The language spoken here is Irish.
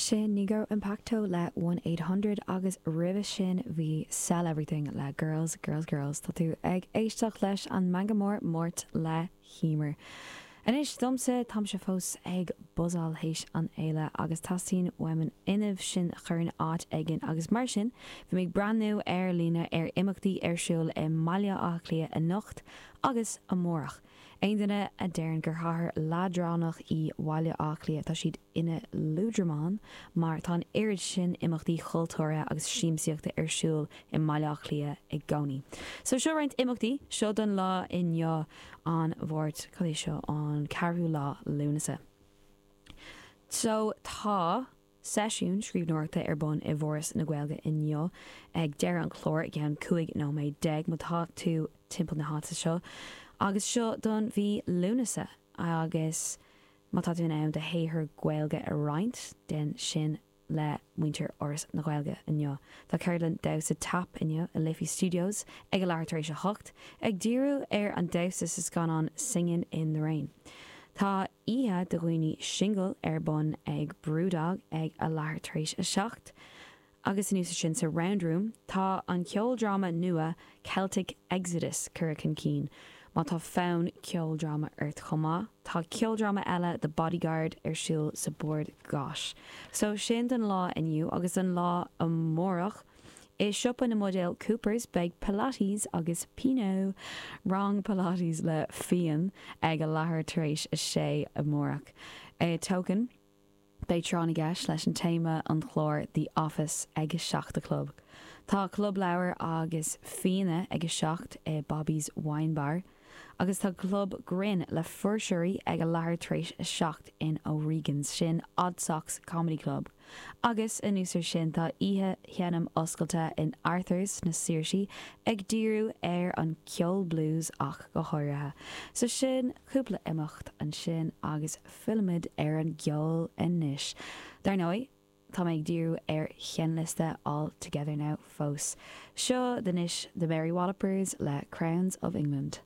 Sin Nigo Impacto le 1800 agus roimhe sin bhí Sell Everything le Girls, Girls, Girls. Tá tú ag éisteacht leis an Meangadh Mór Máirt le hEmer. Anois domsa, táimse fós ag buzzáil théis an fhéile agus teastaíonn uaim an fhuinneamh sin a chur in áit éigin agus mar sin bhí mé ag breathnú ar líne ar imeachtaí ar siúl i mBaile Átha Cliath anocht agus amárach. Aon duine a deireann gur chathair leadránach í Baile Átha Cliath, tá siad ina luadramáin mar tá an oiread sin imeachtaí chultúrtha agus siamsaíochta ar siúl i mBaile Átha Cliath i gcónaí. So seo roinnt imeachtaí, seo don lá inniu, an Mháirt, cad é seo, an ceathrú lá Lúnasa. So tá. seisiún scríbhneoireachta ar bun i bhForas na Gaeilge inniu ag deireadh an chláir i gceann 15 nóiméad má tá tú timpeall na háite seo agus seo don mhí Lúnasa agus má tá tú in ann do shaothar Gaeilge a roinnt, déan sin le muintir Fhoras na Gaeilge inniu. Tá ceardlann damhsa tap inniu i Liffey Studios ag a leathuair tar éis a hocht, ag díriú ar an damhsa sa scannán Singin' in the Rain. Tá oíche do dhaoine singil ar bun ag Brewdog ag a leathuair tar éis a 7 agus anuas ar sin sa Round Room tá an ceoldráma nua Celtic Exodus curtha chun cinn. Má tá fonn ceoldráma ort chomh maith, tá ceoldráma eile The Bodyguard ar siúl sa Bord Gáis. So sin don lá inniu agus don lá amárach. I siopa na mbuidéal Coopers beidh Pilates agus Pinot, rang Pilates le fíon, ag a leathuair tar éis a sé amárach. I Token beidh tráth na gceist leis an téama an chláir The Office ag a 7 a chlog. Tá club leabhar agus fíona ag a 7 i Bobby's Wine Bar. Agus tá club grinn le fuirseoirí ag a leathuair tar éis a 7 in O'Regan's, sin Odd Socks Comedy Club. Agus anuas ar sin tá oíche sheinm oscailte in Arthur's sna Saoirsí ag díriú ar an ceol blues ach go háirithe. So sin cúpla imeacht ansin agus fillimid ar an gceol anois. Dar ndóigh, Tá mé ag díriú ar sheinnliosta All Together Now fós. Seo anois The Mary Wallopers le Crowns of England.